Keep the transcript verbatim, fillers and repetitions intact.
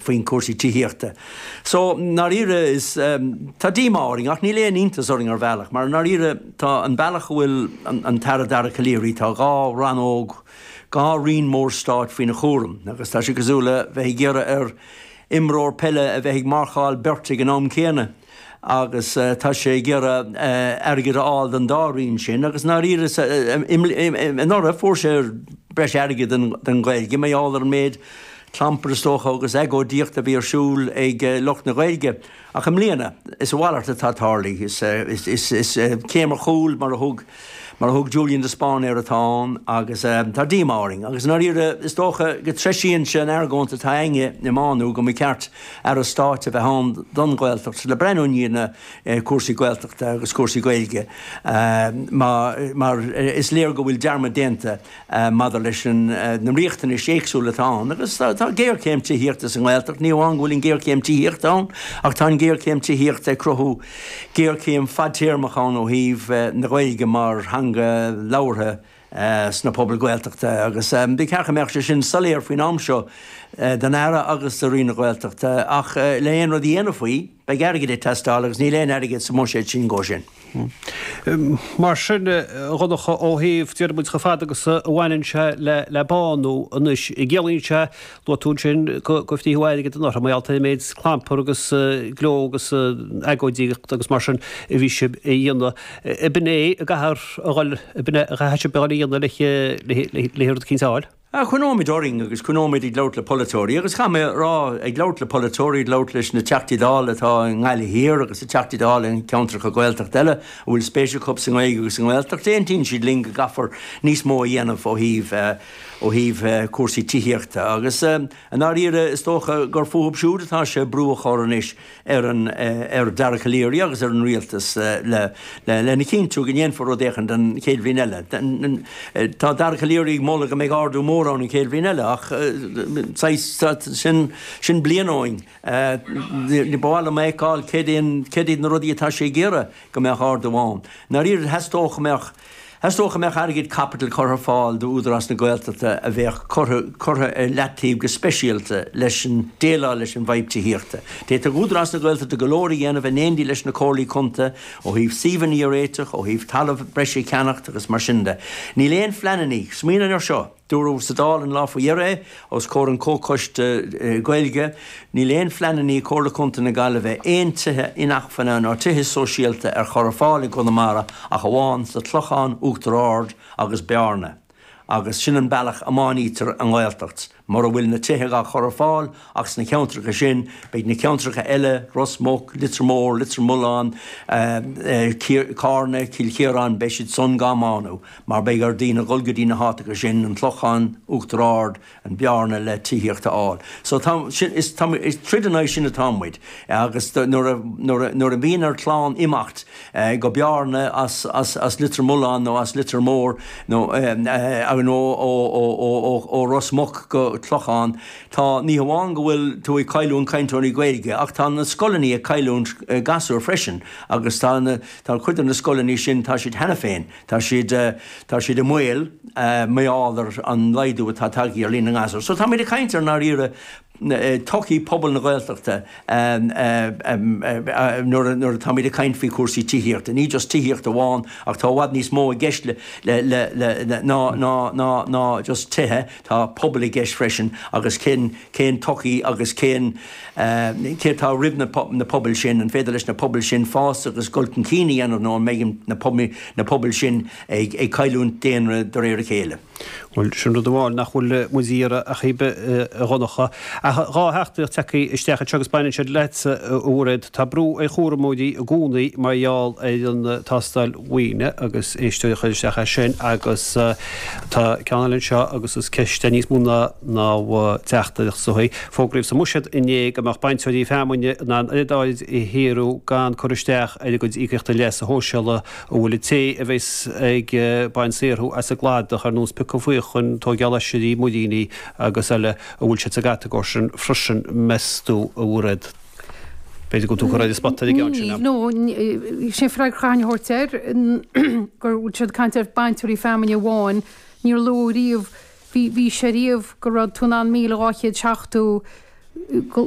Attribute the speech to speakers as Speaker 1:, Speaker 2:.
Speaker 1: faoin cúrsaí tithíochta. So ndáiríre is tá díomá orainn ach níl aon iontas orainn ar bhealach, mar ndáiríre tá an bealach a bhfuil an tAire Dara Calleary, tá dhá rannóg, dhá roinn mór stáit faoina chúram agus tá sé cosúil le bheith ag iarraidh ar imreoir peile a bheith ag marcáil beirt ag an am céanna. Agus tá sé ag iarraidh airgead a fháil don dá roinn sin agus ndáiríre anuraidh fuair sé breis airgid don Ghaeilge mar gheall ar an méid clampar is dócha agus agóidíocht a bhí ar siúl ag lucht na Gaeilge. Ach i mbliana, is a mhalairt atá tarlaithe. Is céim ar chúl mar a thug mar a thug Julian de Spáinn air atá ann agus tá díomá orainn. Agus i ndáiríre, is dócha go dtreisíonn sé an argóint atá againne i mBánú go mba cheart Aire Stáit a bheith ann don Ghaeltacht le breathnú i ndiaidh na cúrsaí Gaeltachta agus cúrsaí Gaeilge mar is léir go bhfuil dearmad déanta maidir leis na riachtanais éagsúla atá ann. Agus tá géarchéim tithíochta sa nGaeltacht, ní amháin go bhfuil an ghéarchéim tithíochta ann ach tá an ghéarchéim tithíochta ag cruthú géarchéim fadtéarmach ann ó thaobh na Gaeilge mar theanga labhartha sna pobail Ghaeltachta agus ba cheart go mbeadh sé sin soiléir faoin am seo don Aire agus do Roinn na Gaeltachta ach le aon rud a dhéanamh faoi, beidh airgead ag teastáil agus níl aon airgead sa mbuiséad sin dhó sin.
Speaker 2: Mar sin, a Dhonncha, ó thaobh, déarfaidh muid, chomh fada agus a bhaineann sé le Bánú anois, ciallaíonn sé, luaigh tú ansin go frítheadh airgead anuraidh mar gheall ar an méid clampar agus gleo agus agóidíocht agus mar sin a bhí sibh a dhéanamh. Ab in é a gcaithfear a dhul, ab in é a chaithfidh sibh a dhul a dhéanamh le rud eicínt a fháil?
Speaker 1: Coinneoimid orainn agus coinneoimid ag labhairt le polaiteoirí agus caithfidh mé a rá, ag labhairt le polaiteoirí, ag labhairt leis na Teachtaí Dála atá i nGaillimh Thiar agus na Teachtaí Dála i gceantracha Gaeltachta eile a bhfuil spéis acu sa nGaeilge agus sa nGaeltacht, aontaíonn siad linn go gcaithfear níos mó a dhéanamh ó thaobh ó thaobh cúrsaí tithíochta agus i ndáiríre is dócha gur fúthu siúd atá sé brú a chur anois ar an ar Dara Calleary agus ar an rialtas le lena chinntiú go ndéanfar rud éicint an chéad bhliain eile. Tá Dara Calleary ag moladh go mbeidh ardú mór ann an chéad bhliain eile ach saghas sin sin bliain ó shin. Ba mhaith liom a fheiceáil céard iad na rudaí atá sé ag iarraidh go mbeadh ardú ann. I ndáiríre theastódh go mbeadh Theastódh go mbeadh airgead caipitil curtha ar fáil d'Údarás na Gaeltachta a bheadh curtha curtha ar leataobh go speisialta leis an déileáil leis an bhfadhb tithíochta. D'fhéadfadh Údarás na Gaeltachta go leor a dhéanamh in éindí leis na comhairlí contae ó thaobh suíomhanna a réiteach, ó thaobh talamh breise a cheannacht agus mar sin de. Níl aon phleananna, smaoinigh air seo! Dúradh sa Dáil an lá faoi dheireadh é, os comhair an Chomhchoiste Gaeilge, níl aon phleananna ag Comhairle Contae na Gaillimhe aon tithe inacmhainne ná tithe sóisialta ar chur ar fáil i gConamara ach amháin sa Chlochán, Uachtar Ard agus Bearna. Agus sin an bealach a mbánaítear an Ghaeltacht. Mura bhfuil na tithe á chur ar fáil ach sna ceantracha sin, beidh na ceantracha eile, Ros Muc, Leitir Móir, Leitir Mealláin, Carna, Cill Chiaráin, beidh siad san gá mbánú mar beidh ar daoine dhul go dtí na háiteacha sin, an Clochán, Uachtar Ard, an Bearna le tithíocht a fháil. So tá, sin, is, tá, is troid in aghaidh sin atá muid agus nuair a, nuair a, nuair a bhíonn ar chlann imeacht go Bearna as, as, as Leitir Mealláin nó as Leitir Móir nó, nó ó, ó, ó, ó, ó Ros Muc go Clochán, tá, ní hamháin go bhfuil tú ag cailliúint cainteoirí Gaeilge ach tá na scoileanna ag cailliúint gasúir freisin agus tá na, tá cuid de na scoileanna sin, tá siad cheana féin, tá siad, tá siad i mbaol mar gheall ar an laghdú atá tagtha ar líon na ngasúr. So táimid ag caint ar ndáiríre todhchaí pobal na Gaeltachta nuair nuair atáimid ag caint faoi chúrsaí tithíochta. Ní just tithíocht amháin ach tá i bhfad níos mó i gceist le le le ná ná ná ná just tithe, tá pobal i gceist freisin agus cén cén todhchaí agus cén cé atá roimh na na pobail sin, an féidir leis na pobail sin fás agus dul chun cinn a dhéanamh nó an mbeidh na na pobail sin ag ag cailliúint daonra de réir a chéile.
Speaker 2: Bhuel, sin rud amháin nach bhfuil muid a iarraidh a chibe, a Dhonncha. Ach dhá theachtaireacht tagtha isteach anseo agus baineann siad leatsa, a Mhairéad. Tá brú ar chúramóirí i gcónaí mar gheall ar an tástáil mhaoine agus éisteoir a chuir isteach é sin agus tá ceann eile anseo agus is ceist é níos mó ná ná teachtaireacht is dóigh. Fógraíodh sa mBuiséad inné go mbeadh bainteoirí feamainne in ann oiread áirid a shaothrú gan cur isteach ar a gcuid íocaíochta leasa shóisialaigh. An bhfuil an té a bheas ag baint saothrú as an gcladach, ar nós piocadh faochain, tóigeáil oisrí, muiríní agus eile, an bhfuil siad sa gcatagóir sin freisin, meas tú, a Mhairéad? B'fhéidir go bhfuil tú curtha ar an spota ar an gceann sin.
Speaker 3: Níl, no, sé an freagra a chaithfinn a thabhairt air, go bhfuil siad ag caint ar bainteoirí feamainne amháin, níor luadh riamh, bhí, bhí sé riamh go raibh tú in ann míle dhá chéad seachtó, go